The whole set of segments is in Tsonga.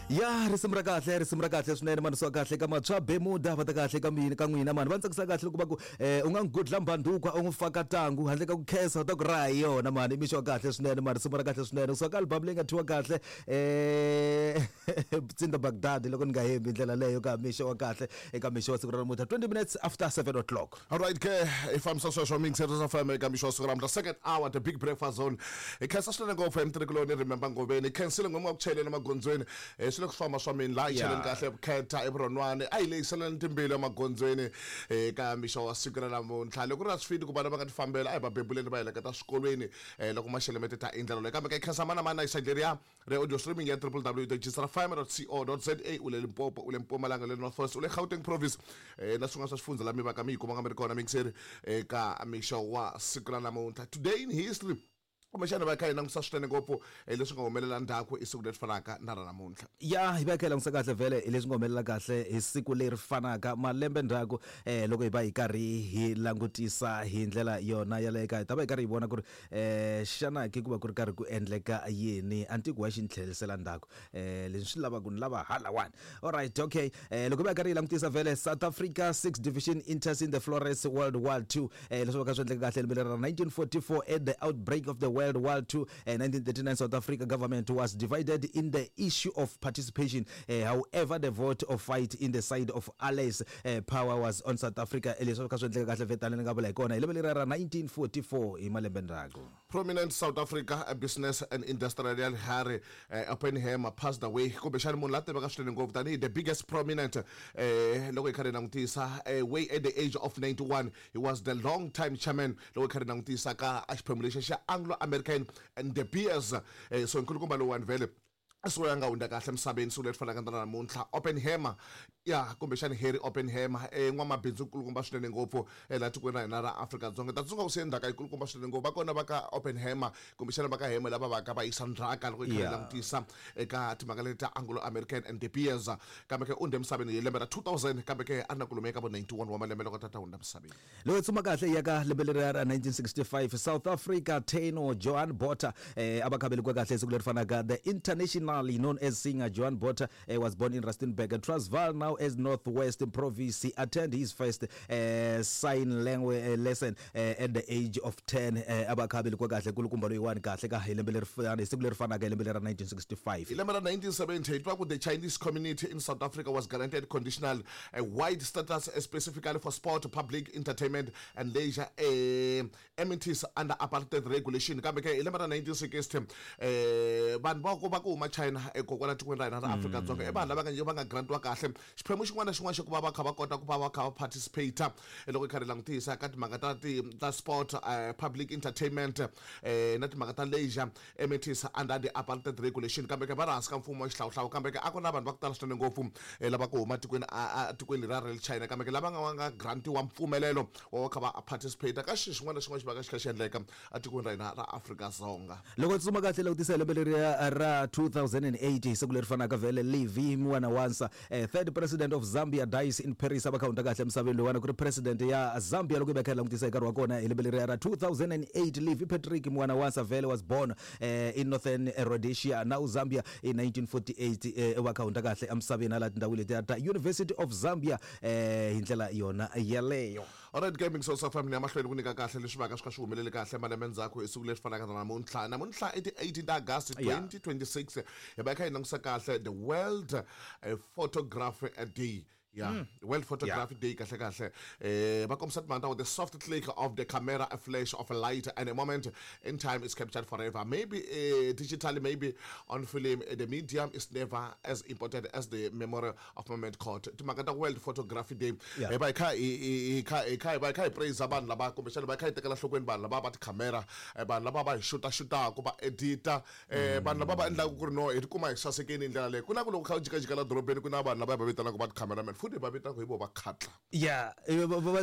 Ya, risimu ra kahle, risimu ra kahle swinene mani, swa kahle ka matshwa bemuda va ta kahle ka mina ka n'wina mani, va ni tsakisa kahle loko va ku u nga n'wi gudla mbandukwa u n'wi faka tangu handle ka ku khensa u ta ku raha hi yona mani. I mixo wa kahle swinene mani, risimu ra kahle swinene kusuka ka album leyi nga thyiwa kahle Tsinda Baghdad loko ni nga hembi ndlela leyo ka mixo wa kahle eka mixo wa siku ra namuntlha, 20 minutes after 7 o'clock. Alright ke, i fambisa sweswo mixer swa FM eka mixo wa siku ra namuntlha, second hour, The Big Breakfast Zone. Hi khensa swinene ngopfu emtirhikuloni Remember Ngoveni. Hi khensile n'we mi nga ku chayeleni emagondzweni. Swi le ku famba swa mina laha hi cheleni kahle vukhetha evurhonwani. A hi lehiseleni timbilu emagondzweni eka mixo wa siku ra namuntlha. Loko ri na swifiti ku vana va nga ti fambela, a hi va bebuleni va heleketa swikolweni loko maxelo ma tita hi ndlela leyi. Kambe ka hi khensa mani na mani na hi side leriya re audio streaming ya www.gsrfm.co.za. U le Limpopo, u le Mpumalanga, u le North West, u le Gauteng province na swin'wana swa swifundza la mi va ka mi yi kumaka mi ri kona mixeri eka mixo wa siku ra namuntlha. Today in history, kumbexana va kha hi langutisa swinene ngopfu leswi nga humelela ndzhaku i siku leri fanaka na ra namuntlha. Ya, hi va hi kha hi langutisa kahle vhele hi leswi nga humelela kahle hi siku leri fanaka malembe ndzhaku. Loko hi va hi karhi hi langutisa hi ndlela yona yaleyo ka hi ta va hi karhi hi vona ku ri xana ke ku va ku ri karhi ku endleka yini. A ni tivi ku wa xi ni tlherisela ndzhaku leswi swi lavaka ni lava halawani. Alright, okay, loko hi va hi karhi hi langutisa vhele, South Africa 6 Division enters in the Flores World War II. Leswi va ka swi endleka kahle lembe leri ra 1944 at the outbreak of the World War II, 1939 South Africa government was divided in the issue of participation. However, the vote of fight in the side of Allies power was on South Africa. Leswi va ka swi endleka kahle vhetani ni nga vula hi kona hi lembe leri ra 1944 hi malembe ndzhaku. Prominent South Africa business and industrial Harry Oppenheimer passed away. Kumbexana munhu la tiveka swinene ngopfu tanihi the biggest prominent loko hi karhi hi langutisa way at the age of 91. He was the long time chairman loko hi karhi hi langutisa ka xiphemu lexi xa Anglo American and De Beers. So nkulukumba lowuwani vhele siku ya nga hundza kahle emisaveni siku leri fanaka na namuntlha. Oppenheimer, ya, kumbexana Harry Oppenheimer, n'wamabindzu nkulukumba swinene ngopfu laha tikweni ra hina ra Afrika-Dzonga. Ta tsundzuka ku siye ndzhaka yikulukumba swinene ngopfu. Va kona va ka Oppenheimer kumbexana va ka Heme lava va ka va yisa ndzhaka loko hi kha hi langutisa eka timhaka leti ta Anglo American and De Beers. Kambe ke u hundze emisaveni hi lembe ra 2000, kambe ke a ri na ku lumeka vo 91 wa malembe loko tata hundza emisaveni. Loko hi tsuma kahle hi ya ka lembe leriya ra 1965, South Africa tenor Johan Botha a va kha velekiwa kahle siku leri fanaka. The internationally known as singer Johan Botha was born in Rustenburg, Transvaal, now as North West Province. He attended his first sign language lesson at the age of 10. A va kha velekiwa kahle kulukumba loyiwani kahle ka hi lembe leri hi siku leri fanaka hi lembe leri ra 1965. Hi lembe ra 1970 hi twa ku the Chinese community in South Africa was granted conditional a wide status specifically for sport, public entertainment and leisure amenities under apartheid regulation. Kambe ke hi lembe ra 1960 vanhu va ku va ku huma China kokwala tikweni ra hina ra Afrika-Dzonga i vanhu lava nga va nga grantiwa kahle xiphemu xin'wana na xin'wana xa ku va va kha va kota ku va va kha va participate loko hi karhi hi langutisa ka timhaka ta ti ta sport, public entertainment na timhaka ta leisure amenities under the apartheid regulation. Kambe ke va ri hansi ka mfumo wa xihlawuhlawu, kambe ke a ku na vanhu va ku tala swinene ngopfu lava ku huma tikweni a tikweni leriya ra le China, kambe ke lava nga va nga grantiwa mpfumelelo wa va kha va participate ka xilo xin'wana na xin'wana xi va ka xi kha xi endleka etikweni ra hina ra Afrika-Dzonga. Loko tsuma kahle langutisa hi lembe leriya ra 2008 hi siku leri fanaka vhele Levy Mwanawasa, third president of Zambia, dies in Paris. A va kha hundza kahle emisaveni loyiwani ku ri president ya Zambia loko hi va kha hi langutisa hi nkarhi wa kona hi lembe leriya ra 2008. Levy Patrick Mwanawasa vhele was born in Northern Rhodesia, now Zambia, in 1948. Va kha hundza kahle emisaveni hala tindhawini letiya ta University of Zambia hi ndlela yona yeleyo. Alright Gaming Source FM ni ya mahlweni ku nyika kahle leswi vaka swi kha swi humelele kahle malembe ndzhaku hi siku leri fanaka na namuntlha. Namuntlha i ti 18 ta August 2026 hi va hi kha hi langutisa kahle the World Photography Day. Yeah, World Photography Day kahle kahle. Va kombisa timhaka ta ku the soft click of the camera, a flash of a light and a moment in time is captured forever. Maybe digitally, maybe on film, the medium is never as important as the memory of moment caught. Timhaka ta World Photography Day. Hi va hi kha hi kha hi kha hi va hi kha hi praise vanhu lava kumbexana va kha hi tekela nhlokweni vanhu lava va tikhamera, vanhu lava va hi xuta xutaku va edita, vanhu lava va endlaka ku ri no hi tikuma hi sasekeni hi ndlela leyi. Ku na ku loko kha u jikajika la dorobeni ku na vanhu lava hi va vitanaka va ti-cameraman, futhi hi va vitanaka hi vo va khatla. Ya,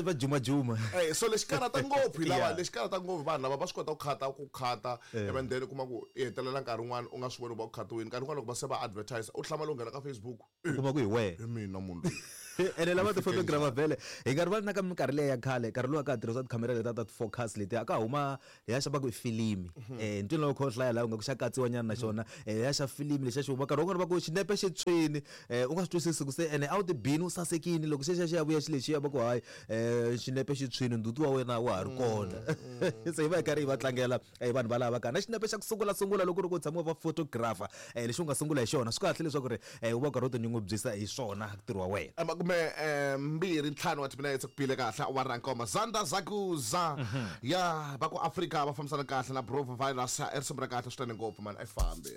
va jumajuma. So lexi karhata ngopfu hi lava, lexi karhata ngopfu vanhu lava va swi kota ku khata ku khata and then u kuma ku i hetelela nkarhi wun'wani u nga swi voni ku va ku khatiwini. Nkarhi wun'wani loko va se va advertise u hlamala u nghena ka Facebook, U kuma ku hi wehe. Hi mina munhu loyi. Ene lava ti-photographer vhele hi nga rivali na ka minkarhi leya ya khale, nkarhi lowu a ka ha tirhisiwa tikhamera letiya ta ti-focus letiya, a ka huma hi ya xa va ku i filimi. Ntwini loko kha u hlaya laha u nga ku xa katsiwa nyana na xona, ya xa filimi lexiya xi huma nkarhi wun'wani va ku xinepe xi tshwini, u nga swi twisisi ku se ene a wu ti bini u sasekini loko xexiya xi ya vuya xi lexiya va ku hayi, xinepe xi tshwini ndzhuti wa wena wa ha ri kona. Se hi va hi karhi hi va tlangela vanhu valava ka na xinepe xa ku sungula sungula loko ku ri ku tshama va photographer, lexi u nga sungula hi xona, swi kahle leswaku ri u va u karhi u tinyungubyisa hi swona ntirho wa wena. Makume 25 wa timinetse ku bile kahle awara nkombo. Zanda Zakuza ya va ku Afrika va fambisana kahle na Brova virus i risimu ra kahle swinene ngopfu mani a yi fambi.